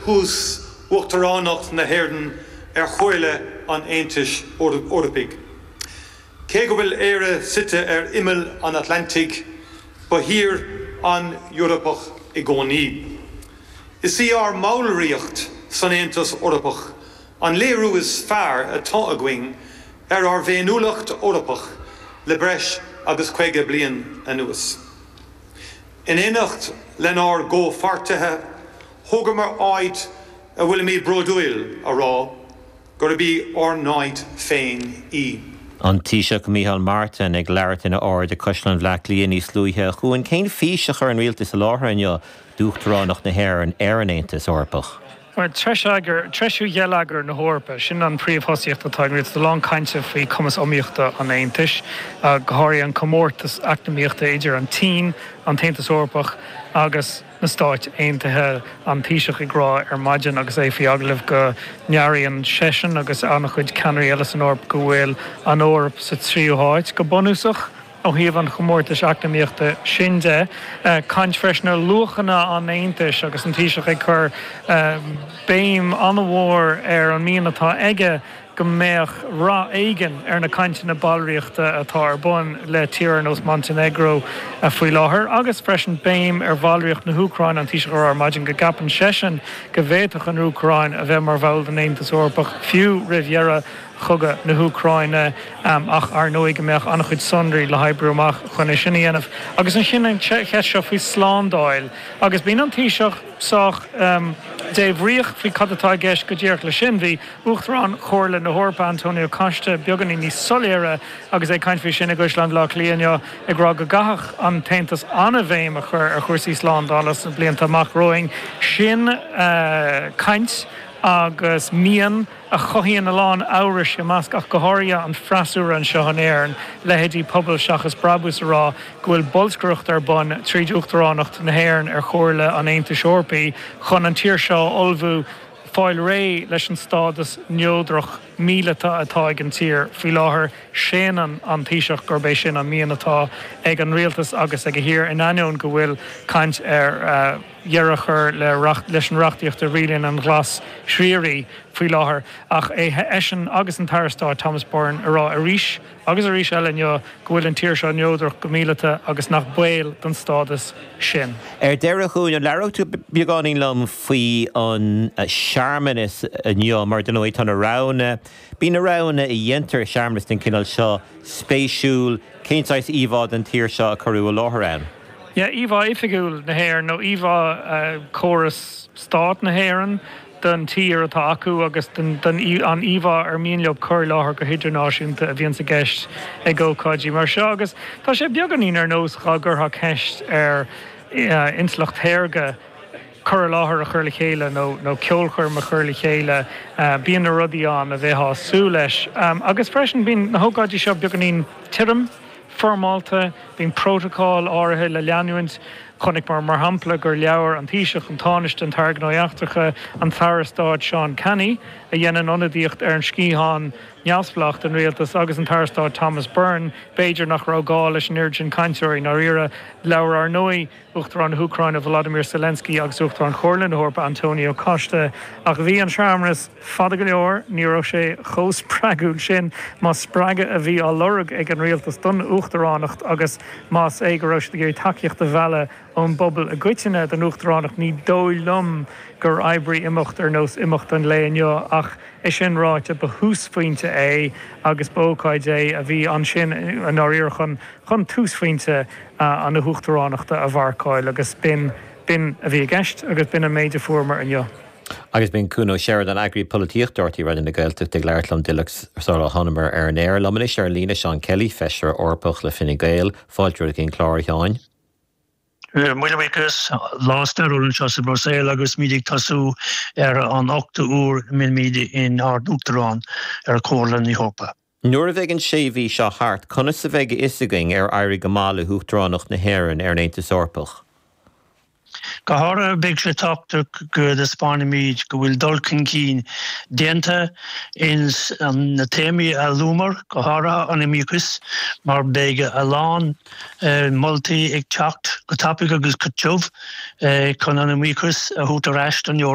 thús Uachtaránacht na hÉireann ar Chomhairle an Aontais Eorpaigh. Cé go bhfuil Éire suite ar imeall an Atlantaigh, ba thír an-Eorpach i gcónaí. Is í ár mballraíocht san Aontas Eorpach an léiriú is fearr atá againn ar ár bhféiniúlacht Eorpach le breis agus 50 bliain anuas. In éineacht lenár gcomhpháirtithe, thógamar áit a bhfuilimid bródúil a rá gurb í ár n-áit féin í. An Taoiseach Micheál Martin ag labhairt ina óráid ag Caisleán Bhaile Átha Cliath níos luaithe. A Chuain, cén fís a chuir an rialtas i láthair inniu d'Uachtaránacht na hÉireann ar an Aontas Eorpach? Bhuel, treisiú gheilleagar na hEorpa, sin an phríomhthosaíocht atá ag an rialtas. A lán cainte faoi chumas iomaíochta an Aontais, go háirithe an comórtas eacnamaíochta idir an tSín, an tAontas Eorpach agus na Stáit Aontaithe. An Taoiseach ag rá ar maidin agus é faoi agallamh go ndearbhaíonn seisean agus an-chuid ceannairí eile san Eoraip go bhfuil an Eoraip sa tríú háit go bunúsach. Ó thaobh an chomórtais eacnamaíochta sin de, caint freisin ar luachanna an Aontais agus an Taoiseach ag cur béim an-mhór ar an mian atá aige go mbeadh rath éigin ar na cainteanna ballraíochta atá ar bun le tír ar nós Montainéagró faoi láthair agus freisin béim ar bhallraíocht na hÚcráine, an Taoiseach ag rá ar maidin go gceapann seisean go bhféadfadh an Úcráin a bheith mar bhall den Aontas Eorpach fiú roimh dheireadh chogadh na hÚcráine, ach ar ndóigh go mbeadh an-chuid sonraí le hoibriú amach chun é sin a dhéanamh. Agus ansin an cheist seo faoi slándáil, agus bíonn an Taoiseach sách débhríoch faoi cad atá i gceist go díreach leis sin. Bhí Uachtarán Chomhairle na hEorpa, Antonio Costa, beagáinín níos soiléire agus é ag caint faoi sin i gCaisleán Bhaile Átha Cliath inniu, ag rá go gcaithfeadh an tAontas an-bhéim a chur ar chúrsaí slándála sna blianta amach romhainn. Sin caint agus mian a chothaíonn a lán amhrais i measc ach go háirithe an freasúra anseo in Éirinn, leithéidí Pobal Seachas Brabús a rá go bhfuil bolscaireacht ar bun tríd Uachtaránacht na hÉireann ar Chomhairle an Aontais Eorpaigh chun an tír seo a ullmhú fáil réidh leis an stádas neodrach míleata atá ag an tír faoi láthair. Séanann an Taoiseach gurb é sin an mian atá ag an rialtas agus ag a thír in ainneoin go bhfuil caint ar dheireadh a chur leis an reachtaíocht a rialaíonn an glas síoraí faoi láthair. Ach é eisean agus an tAire Stáit Thomas Byrne a rá arís agus arís eile inniu go bhfuil an tír seo neodrach go míleata agus nach baol don stádas sin. Ar deireadh, a Chuain, an labhróidh tú beagáinín liom faoi an searmanas inniu, mar dar ndóigh tá na roghanna, bíonn na roghanna a dhéantar i searmanas den chineál seo spéisiúil, cén saghas íomhá den tír seo a cuireadh i láthair ann? Yeah, íomhá oifigiúil na hÉireann nó íomhá córas stát na hÉireann den tír atá acu agus den an íomhá ar mian leo cur i láthair go hidirnáisiúnta a bhíonns i gceist ag ócáidí mar seo agus tá sé beagáinín ar nós dhá gcuirfeá ceist ar intleacht shaorga cur i láthair a chur le chéile nó nó ceolchoirm a chur le chéile, bíonn na rudaí ann a bheifeá ag súil leis. Agus freisin bíonn na hócáidí seo beagáinín tirim, foirmeálta, bíonn prótocol áirithe le leanúint. Chonaiceamar mar shampla gur labhair an Taoiseach, an Tánaiste, an tAire Gnóthaí Eachtracha, an tAire Stáit Seán Canney, a dhéanann ionadaíocht ar an sciathán neamhspleách den rialtas, agus an tAire Stáit Thomas Byrne. B'fhéidir nach raibh gá leis an oiread sin cainteoirí i ndáiríre. Labhair ar ndóigh Uachtarán na hÚcráine Volodymyr Zelensky agus Uachtarán Chomhairle na hEorpa Antonio Costa. Ach bhí an searmanas fada go leor, ní raibh sé chomh spreagúil sin, más spreagadh a bhí á lorg ag an rialtas don uachtaránacht agus más é go raibh siad ag iarraidh tacaíocht a mhealladh ón bpobal i gcoitinne don uachtaránacht, ní dóigh liom gur oibrigh imeacht ar nós imeacht an lae inniu. Ach é sin ráite, ba thúsphointe é agus ba ócáid é a bhí ansin i ndáiríre chun chun túsphointe na huachtaránachta a mharcáil agus b'in, b'in a bhí i gceist agus b'in an méid a fuaireamar inniu. Agus b'in Cuan Ó Seireadáin, Eagraí Polaitíochta RTÉ Raidió na Gaeltachta ag labhairt liom duilleog sara thánamar ar an aer. Liom anois ar an líne Seán Kelly, Feisire Eorpach le Fine Gael. Fáilte romhat chuig an clár, a Sheáin. Míle buíochas. Lá stairiúil anseo sa Bhruiséil agus muid ag tosú ar an ochtú huair a mbeimid inár n-uachtarán ar Chomhairle na hEorpa. Nuair a bheidh an sé mhí seo thart, conas a bheidh a fhios againn ar éirigh go maith le hUachtaránacht na hÉireann ar an Aontas Eorpach? Go háirithe, beidh sé tábhachtach go dtaispeánfaimid go bhfuil dul chun cinn déanta ins na téamaí a luamar, go háirithe an iomaíochas, mar beidh a lán moltaí ag teacht go tapaidh agus go tiubh chun an iomaíochas a thabhairt ar ais don Eoraip.